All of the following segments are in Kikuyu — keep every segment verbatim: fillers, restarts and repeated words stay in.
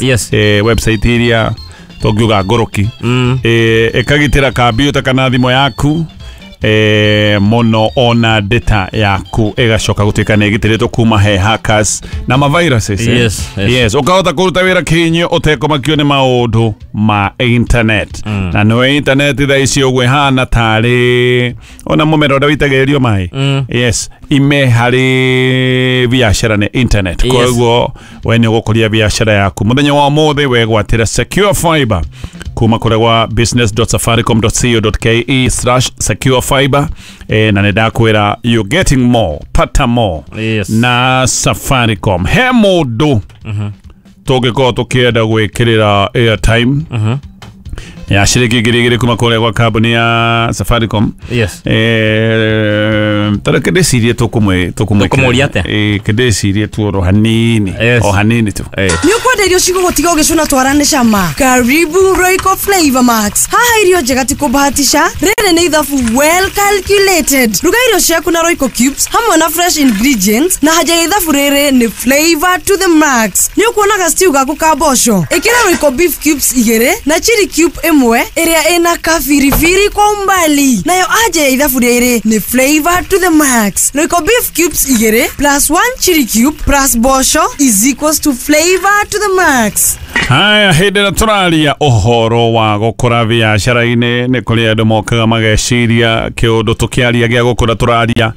Yes. Eh, website iria tongiuga ngũrũki. Mm. Eh, ĩkagitĩra kambiuta kana thimũ yaku eh, mũno ona data yaku ĩgacoka gũtuĩka nĩ ĩgitĩrĩtwo kuma he hackers na ma viruses eh? Yes, yes. Yes, ũkahota kũruta wĩra kĩhinyio ũtekũmakio nĩ maũndũ ma internet. Mm. Na nĩwe internet thaa ici ũguo ĩhana tarĩ ona mũmera ũrĩa wĩitagĩrĩrio maĩ. Mm. Yes, ime harĩ biacara nĩ internet. Yes. Koguo we nĩ ũgũkũria biacara yaku mũthenya wa ũmũthĩ wegwatĩra secure fiber kuma kũrĩa gwa business dot safaricom dot co dot ke slash secure fiber eh, na nĩ ndakwĩra you getting more, pata more Yes. na Safaricom. He mũndũ tũngĩkorwo tũkĩenda gwĩkĩrĩra airtime Mhm. ya ciringi ngiri igĩrĩ kuma kũrĩa gwa kambuni ya Safaricom. Yes. Eh, tara kĩndĩcirie tũkũmwĩ Tũkũmũria atĩa? Eh, kĩndĩcirie tu oro hanini. Yes. O hanini tu. Eh. Nĩ ũkwenda irio cigũgũtiga ũgĩcũna twara nĩ cama? Karibu Royco Flavor Max. Haha irio njega ti kũbahatisha, rĩrĩ nĩ ithabu well calculated. Ruga irio ciaku na Royco cubes hamwe na fresh ingredients, na haja ya ithabu rĩrĩ nĩ flavor to the max. Nĩ ũkuonaga stew gaku ka mboco, ĩkĩra Royco beef cubes igĩrĩ na chili cube ĩmwe ĩrĩa ĩna kabiribiri kwa umbali, nayo anja ya ithabu rĩrĩ nĩ flavor to the max. Royco beef cubes igĩrĩ plus one chili cube plus mboco is equals to flavor to the max. Haya, hĩndĩ ĩrĩa tũraria ũhoro wa gũkũra biacara-inĩ, nĩ kũrĩ andũ mokaga mageciria kĩũndũ tũkĩaria gĩa gũkũra tũraria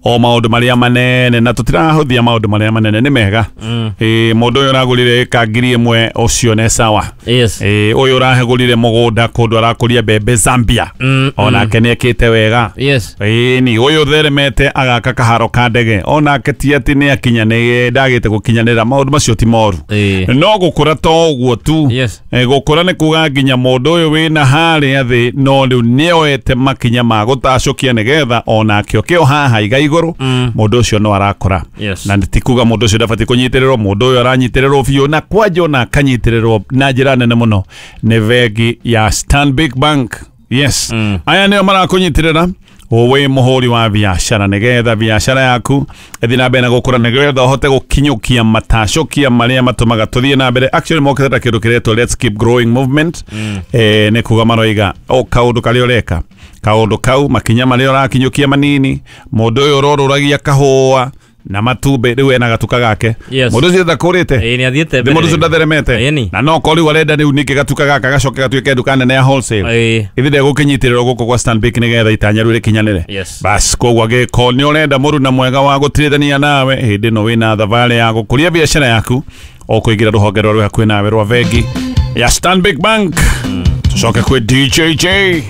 o maũndũ marĩa manene, na tũtirahũthia maũndũ marĩa manene nĩ mega. Mm. Ĩ, mũndũ ũyũ ũragũrire ĩka ngiri ĩmwe ũcio nĩ sawa. Yes. Ĩ, ũyũ ũrahegũrire mũgũnda kũndũ arakũria mbembe Zambia, Mm. onake nĩ ekĩte wega. Yes. Ĩni ũyũ theremete agaka kaharo ka ndege, onake ti atĩ nĩ akinyanĩire, ndagĩte gũkinyanĩra, maũndũ macio ti moru. Eh. No gũkũra to ũguo tu. Yes. Eh, gũkũra nĩ kuga nginya mũndũ ũyũ wĩna harĩa thĩ no rĩu nĩoete makinya ma gũtacũkia nĩgetha onake oke o haha iga igũrũ. Mm. Mũndũ ũcio no arakũra. Yes. Na ti kuga mũndũ ũcio ndabatiĩ kũnyitĩrĩrwo, mũndũ ũyũ aranyitĩrĩrwo biũ na kwanja ona akanyitĩrĩrwo na njĩra nene mũno nĩ bengi ya Stanbic Bank. Yes. Mm. Aya nĩo marakũnyitĩrĩra wĩ mũhũri wa biacara nĩgetha biacara yaku ĩthiĩ na mbere na gũkũra, nĩgetha ũhote gũkinyũkia matacũkia marĩa matũmaga tũthiĩ na mbere. Actually mokĩte ta kĩndũ kĩretwo Let's Keep Growing Movement. Mm. Eh, nĩ kuga maroiga o kaũndũ karĩa ũreka, kaũndũ kau, makinya marĩa ũrakinyũkia manini, mũndũ ũyũ ũrorũragia kahũa na matumbĩ rĩu ena gatuka gake. Yes. Mũndũ ũcio ndakũrĩte. Eh, nĩ athiĩte Nĩ mbere. mũndũ ũcio ndatheremete. Ĩni. Na no korwo rĩu arenda rĩu ningĩ gatuka gaka gacoke gatuĩke nduka nene ya wholesale. Eh. Ithi ndegũkĩnyitĩrĩrwo gũkũ gwa Stanbic nĩgetha itanya rĩu rĩkinyanĩre. Yes. Bas koguo angĩkorwo nĩ ũrenda mũruna mwega wa gũtirithania nawe hĩndĩ ĩno wĩna thabarĩ ya gũkũria biacara yaku, ũkũingĩra rũhonge rwa rwĩ hakuhĩ nawe rwa bengi ya Stanbic Bank. Tũcoke kwĩ D J J.